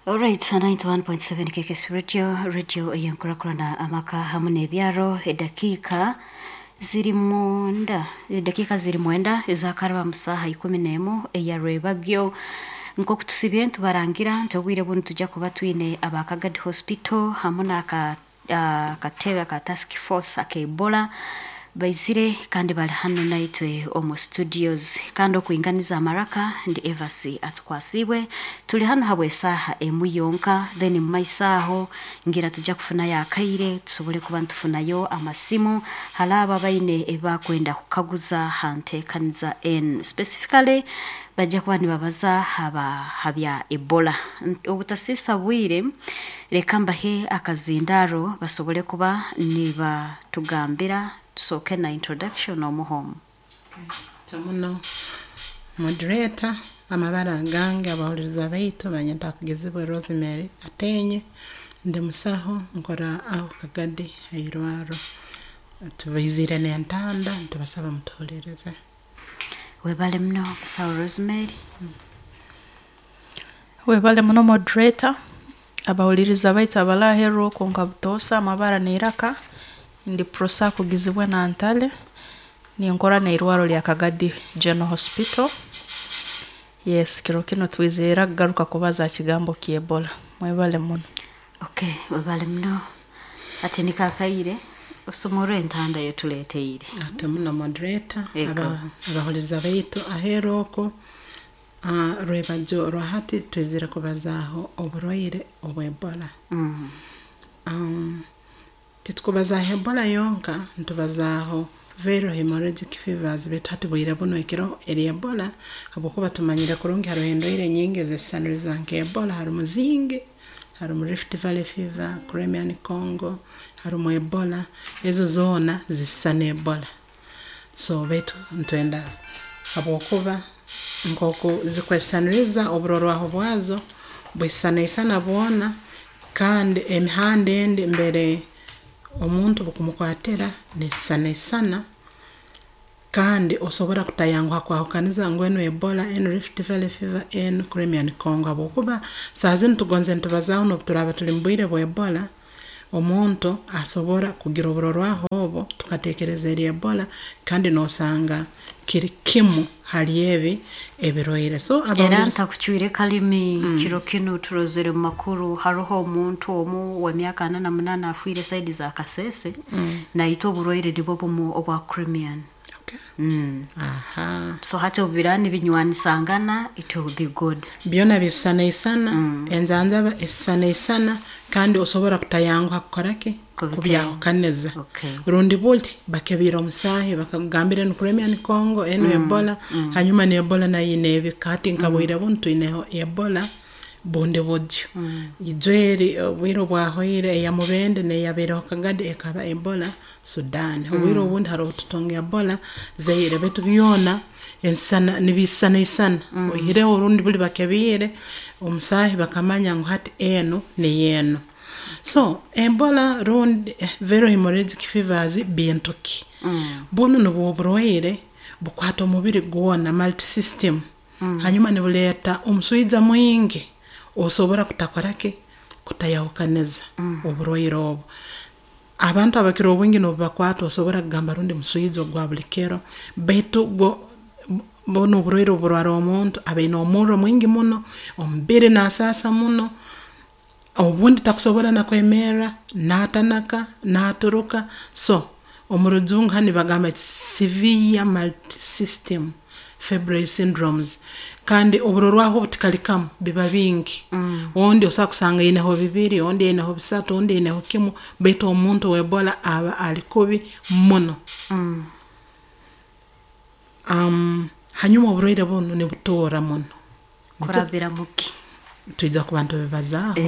Alright, 91.7 KKS Radio, radio ey'enkurakurana amaka hamu n'ebyaro. Edakiika ziri mwenda, edakiika ziri 9 ezakaraba mu saaha 11 eya Rwebagyo. Nk'oku tusibye nitubarangira nti obwire bunu tujja kuba twine aba Kagadi Hospital hamu n'aka akatebe aka task force aka Ebola baizire kandi bali hanu naitwe omu studios. Kandi okwinganiza amaraka ndi Evasi Atukwasiibwe. Tuli hanu habw'esaaha emu yonka, then mu maiso aho ngira tujja kufunayo akaire tusobole kuba nitufunayo amasimu hali abo abaine ebi bakwenda kukaguza ha nteekaniza enu. Specifically bajja kuba nibabaza haba ha bya Ebola. Obutasiisa bwire, leka mbahe akazindaaro basobole kuba nibatugambira, tusooke na introduction omuhomu. Muno moderator, amabara gange abahuliriza baitu banyeta Akugizibwe Rosemary Atenye, ndi musaho nkora aho Kagadi hairwarro. Tubaizire n'entanda nitubasaba mutuhulirize. Webale muno musaho Rosemary. Webale muno moderator, abahuliriza baitu abali aheeru okwo nka butoosa amabara n'eiraka, ndi Prosa Akugizibwe Nantale, ninkora n'eirwarro lya Kagadi General Hospital. Yes, kiro kinu twizire kugaruka kubaza ha kigambo ky'Ebola. Mwebale muno. Okay, webale muno. Ati nikakaire osomorwe entanda eyotuleeteire. Ate muno moderator, Ego. Abahuliriza baitu aheeru okwo, rwebagyo rwa hati twizire kubazaaho oburwaire obwa Ebola. Titukubazaaho Ebola yonka, nitubazaaho viral hemorrhagic fevers, baitu hati bwire bunu ekiro eri Ebola, habwokuba tumanyire kurungi haroho endwaire nyingi ezisisaniriza nka Ebola, harumu zingi, harumu Rift Valley fever, Crimean Congo, harumu Ebola, ezo zoona zisisana Ebola. So baitu nitwenda habwokuba nk'oku zikwesisaniriza oburorwaho bwazo bwisisanaisana bwona, kandi emihanda endi mbere omuntu bukumukwatira nesisanaisana, kandi osobora kutayanguha kwahukaniza ngu enu Ebola, enu Rift Valley fever, enu Crimean Congo, habwokuba saaha zinu tugonze nitubazaaho n'obu turaaba tuli mu bwire bwa Ebola, omuntu asobora kugira oburorwaho obu tukateekereza eri Ebola, kandi noosanga kiri kimu hali ebi ebirwaire. So Era abahuliriza ntakucwire kalimi, kiro kinu turozere mu makuru haroho omuntu omu w'emyaka 48 afiire saidi za Kasese, naitwe oburwaire nibwo bumu obwa Crimean. Okay. Aha. So hati obu biraaba nibinywanisangana, it will be good. Byona bisisanaisana, enjanjaba esisanaisana, kandi osobora kutayanguha kukora ki? Kubyahukaniza. Okay. Rundi buli bakebiire omusaahi bakakugambira enu Crimean Congo, enu Ebola, hanyuma n'Ebola nayo ine ebika. Hati nka bwire bunu twineho Ebola bundi buryo. Ijo eri obwire obwahoire eya Mubende n'eyabaireho Kagadi ekaba Ebola Sudan. Obwire obundi haroho obu tutunga Ebola Zaire, baitu byona ensisana nibisisanaisana. Oihireho orundi buli bakebiire omusaahi bakamanya ngu hati enu niyo enu. So Ebola rundi viral hemorrhagic fevers bintu ki? Bunu nubwo oburwaire bukwata omubiri gwona, multisystem. Hanyuma nibuleeta omuswija mwingi, osobora kutakora ki? Kutayahukaniza oburwaire obu. Abantu abakira obwingi n'obubakwata osobora kugamba rundi muswija ogwa buli kiro, baitu gwo bunu oburwaire oburwara omuntu aba aine omurro mwingi muno, omubiri nasaasa muno, obundi takusobora na kwemerra, naatanaka, naaturuka. So omu rujungu hanu nibagamba severe multisystem febrile syndromes, kandi oburorwaho obu tikali kamu, biba bingi. Ondi osobola kusanga aineho bibiri, ondi aineho bisatu, ondi aineho kimu, baitu omuntu w'Ebola aba ali kubi muno. Hanyuma oburwaire bunu nibutoora muno. Kurabira muki? Twija kuba nitubibazaaho.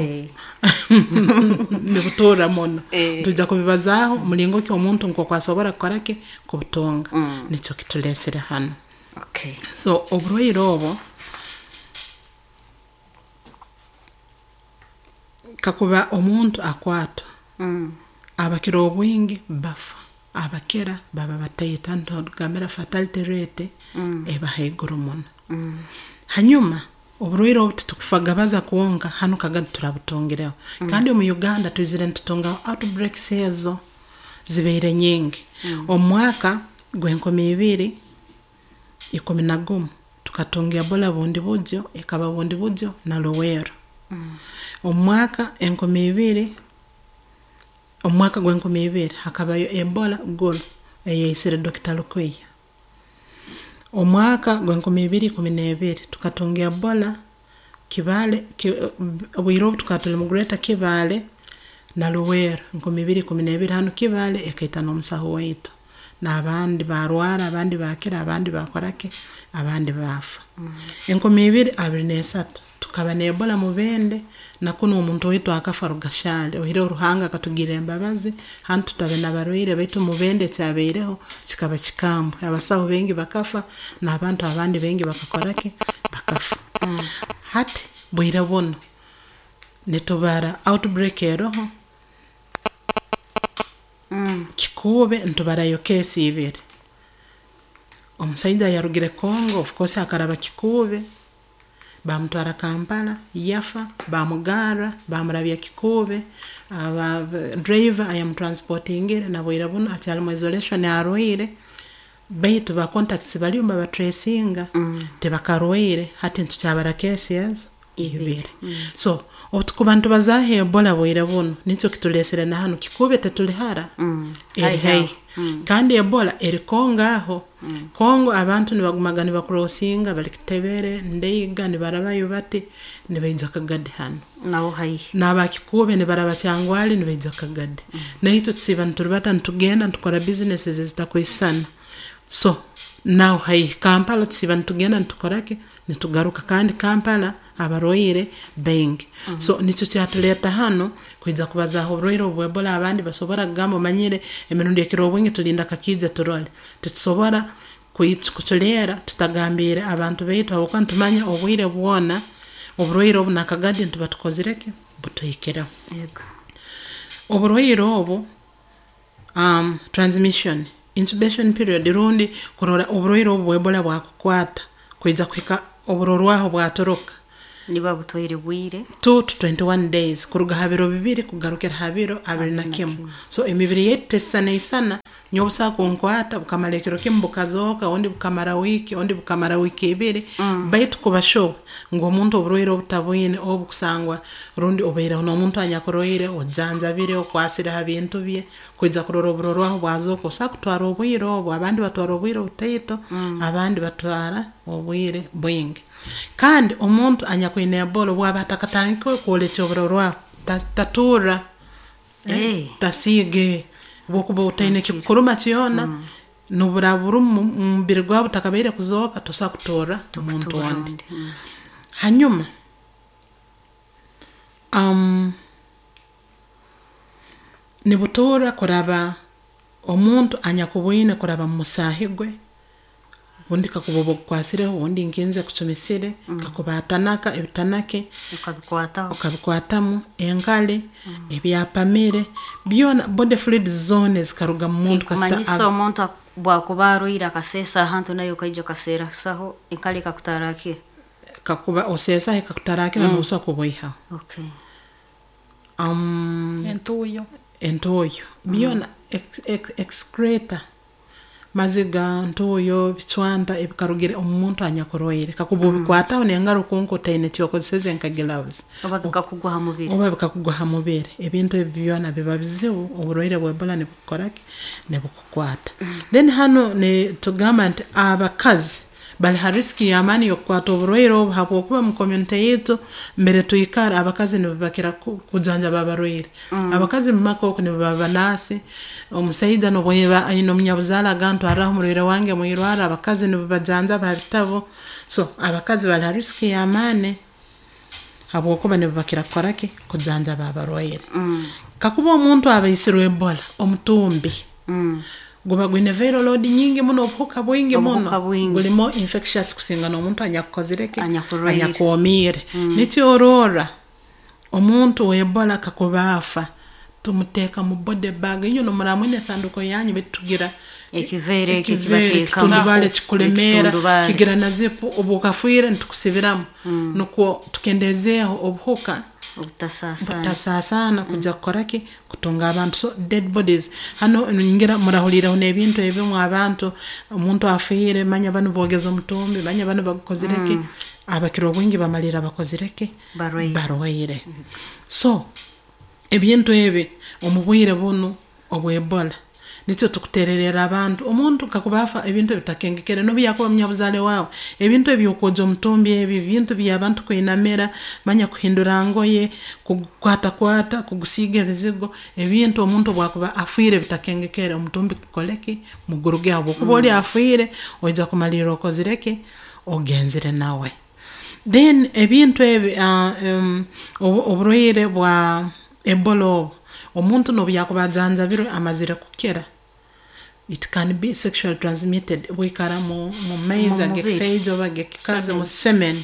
Nibutoora muno. Twija kubibazaaho mulingo ki omuntu nk'oku asobora kukora ki? Kubutunga. Nikyo kituleesere hanu. Okay. So oburwaire obu, kakuba omuntu akwatwa, abakira obwingi bafa, abakira baba bataito. Hanu nitugambira fatality rate eba haiguru muno. Hanyuma Oburwaire obu titukufagabaza kwonka, hanu Kagadi turabutungireho. Kandi omu Uganda twizire nitutungaho outbreaks ezo zibaire nyingi. Omu mwaka gw'2011 tukatunga Ebola Bundibugyo, ekaba Bundibugyo na Luweero. Omu mwaka 2000, omu mwaka gw'2000 hakabayo Ebola Gulu eyaisire Dr. Lukwiya. Omu mwaka gw'2012 tukatunga Ebola Kibaale, obwire obu tukaba tuli mu Greater Kibaale na Luweero, 2012 hanu Kibaale ekaita n'omusaho waitu, n'abandi baarwara, abandi baakira, abandi baakora ki, abandi baafa. 2023 tukaba n'Ebola Mubende, na kunu omuntu waitu akafa Rugashali, oihireho Ruhanga akatugirra embabazi, hanu tutabe n'abarwaire, baitu Mubende ekyabaireho kikaba kikambwe, abasaho baingi bakafa, n'abantu abandi baingi bakakora ki, bakafa. Hati bwire bunu, nitubara outbreak eroho, Kikuube nitubarayo case ibiri. Omusaija yarugire Congo, of course akaraba Kikuube, baamutwara Kampala, yafa, baamugarra, baamurabya Kikuube, aba driver ayamutransportingire na bwire bunu akyali mu isolation arwaire, baitu ba contacts baliyo nibabatracinga, tibakarwaire, hati nitukyabara case ezo ibiri. So obu tukuba nitubazaaho Ebola bwire bunu, nikyo kituleesere na hanu, Kikuube tetuli hara, eri haihi. Kandi Ebola eri Congo aho. Congo abantu nibagumaga nibacrossinga bali Kitebere, Ndeiga, nibarabayo bati, nibaija Kagadi hanu. Naho haihi. N'aba Kikuube nibaraba Kyangwali nibaija Kagadi. Naitwe tusiiba niturubata nitugenda nitukora businesses ezitakwisana. So naho haihi Kampala tusiiba nitugenda nitukora ki, nitugaruka, kandi Kampala abarwaire baingi. So nikyo kyatuleeta hanu kwija kubazaaho oburwaire obu bw'Ebola. Abandi basobora kugamba omanyire emirundi ekira obwingi tulinda kakiije turole. Titusobora kuculeera tutagambiire abantu baitu habwokuba nitumanya obwire bwona oburwaire obu na Kagadi nituba tukozire ki, butuhikireho. Oburwaire obu, transmission, incubation period rundi kurora oburwaire obu bw'Ebola bwakukwata kwija kuhika oburorwaho bwatoroka. Niba butwaire bwire. 2 to 21 days, kuruga ha biro 2 kugarukira ha biro 21. So emibiri yaitu tesisana, nyowe busobola kunkwata bukamara ekiro kimu bukazooka, ondi bukamara wiiki, ondi bukamara wiiki ibiri, baitu kuba sure ngu omuntu oburwaire obu tabwine, obu kusangwa rundi obaireho n'omuntu anyakurwaire, ojanjabire, okwasire ha bintu bye, kwija kurora oburorwaho bwazooka, osobola kutwara obwire obu, abandi batwara obwire obutaito, abandi batwara obwire bwingi. Kandi omuntu anyakwine Ebola obu aba atakatandikire kwolekya oburorwaho, taturra, tasiiga, obu okuba otaine ekikukuruma kyona, n'oburaaba burumu mu mubiri gwawe butakabaire kuzooka, tosobora kutorra omuntu ondi. Hanyuma, nibuturra kuraba omuntu anyakubwine kuraba mu musaahi gwe, obundi kakuba oba ogukwasireho, obundi nkinze kucumisire, kakuba atanaka ebitanake, Okabikwataho. Okabikwatamu, enkali, ebyapamire, byona body fluids zoona ezikaruga mu muntu kasita Kumanyisa omuntu bwakuba arwaire akaseesa ahantu nawe okaija okaseerasaho enkali ekakutarakira. Kakuba oseesaho ekakutarakira, nosobola kubwihaho. Entuuyo. Entuuyo, byona excreta, maziga, ntuuyo, bicwanta ebikarugire omu muntu anyakurwaire, kakuba obikwataho n'engaro kwonka otaine ekyokozeseze nka gloves. Oba bikakugwa ha mubiri. Oba bikakugwa ha mubiri, ebintu ebi byona biba bizibu, oburwaire bwa Ebola nibukukora ki, nibukukwata. Then hanu nitugamba nti abakazi bali ha risk y'amaani y'okukwata oburwaire obu, habwokuba mu community yaitu mbere twikara abakazi nibo bakira kujanjaba abarwaire. Abakazi mu maka oku nibo baba banaasi, omusaija n'obu aba aine omunyabuzaale agamba ntwarraho omurwaire wange mwirwarro, abakazi nibo bajanjaba ha bitabu. So abakazi bali ha risk y'amaani habwokuba nibo bakira kukora ki, kujanjaba abarwaire. Kakuba omuntu aba aisirwe Ebola, omutumbi guba gwine viral load nyingi muno, obuhuka bwingi muno, Obuhuka bwingi. Gulimo infectious kusinga n'omuntu anyakukozire ki, Anyakurwaire. Anyakwomiire. Nikyo ororra omuntu w'Ebola kakuba afa, tumuteeka mu body bag, inywe nimuraba mwine esanduuko yanyu, baitu tugira Ekiveera ekyo ekiveera kibateekamu. ekitundubale kikulemeera, Ekitundubale. kigira na zipu, obu okafiire nitukusibiramu nukwo tukendeezeeho obuhuka obutasaasaana. Butasaasaana kujya kukora ki, kutunga abantu. So dead bodies hanu ningira murahuliireho n'ebintu ebimu, abantu, omuntu afiire, manya banu boogeze omutumbi, manya banu bagukozire ki, abakira obwingi bamalirra bakozire ki, Barwaire. Barwaire. So ebintu ebi omu bwire bunu obw'Ebola, nikyo tukuteererra abantu, omuntu kakuba afa, ebintu ebi bitakengekere, nobu yakuba munyabuzaale waawe, ebintu eby'okwogya omutumbi ebi, ebintu by'abantu kwinamira, manya kuhindura ngoye, kugukwatakwata, kugusiiga ebizigo, ebintu omuntu obu akuba afiire bitakengekere, omutumbi gukole ki, mugurugeho, habwokuba oli afiire, oija kumalirra okozire ki, ogenzere nawe. Then ebintu ebi, oburwaire bwa Ebola obu, omuntu nobu yakuba ajanjabirwe amazire kukira, it can be sexually transmitted, bwikara mu maizi Mu mubiri. Ag'ekisaija oba ag'ekikazi, mu semen,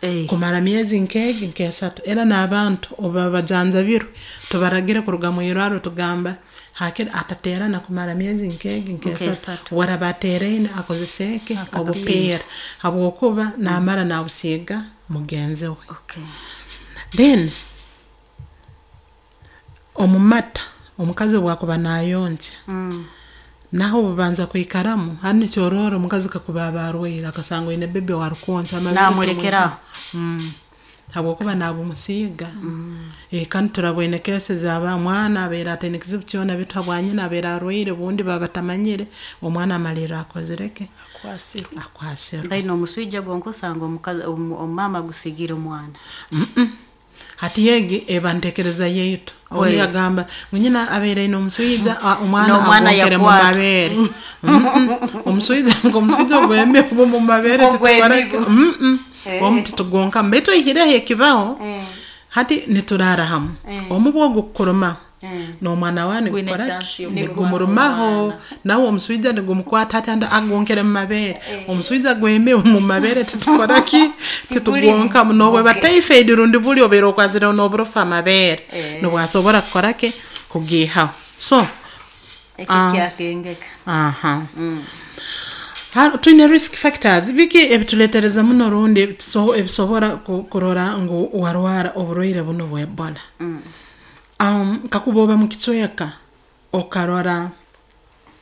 Eh. kumara myezi nk'egi nk'esatu. Era n'abantu obu baba bajanjabirwe, tubaragire kuruga mwirwarro, tugamba hakire atateerana kumara myezi nk'egi nk'esatu. Nk'esatu. Obu araaba ateeraine, akozese ki, obupiira, habwokuba naamara naabusiiga mugenzi we. Then omu mata, omukazi obu akuba naayonkya, naho bubanza kwikaramu. Hanu nikyo orora omukazi kakuba aba arwaire, akasanga oine baby ow'arukwonkya, amabeere Naamulekera aho. Habwokuba naabumusiiga. Kandi turaboine cases aba mwana abaire ataine kizibu kyona, baitu habwa nyina abaire arwaire, obundi baba batamanyire, omwana amalirra akozire ki, Akwasirwe. Akwasirwe. Baine omuswija gwonka, osanga omukazi omumaama agusiigire omwana. Hati egi eba ntekereza yaitu. Ondi Kweli. agamba ngu nyina abaire aine omuswija, omwana N'omwana agwonkere mu yakwata. mabeere. Omuswija, nk'omuswija ogw'emibu mu mabeere, titukora ki? Ogw'emibu. Omu titugonkamu, baitu oihireho ekibaho, hati nituraara hamu, omubu ogu kukurumaho, n'omwana wawe Gwine nigukora chance ki, y'okuruma nigumurumaho, omwana. Nawe omuswija nigumukwata. Hati andi agonkere mu mabeere, omuswija gw'emibu mu mabeere titukora ki, titugonkamu. N'obweba typhoid rundi buli obaire okwasireho n'oburofu amabeere, nobwasobora kukora ki, kugiihaho. So Ekyo Ah. kyakengeka. Aha. Twine risk factors, biki ebituleetereza muno rundi ebisobora kurora ngu warwara oburwaire bunu bwa Ebola. Kakuba oba mu kicweka okarora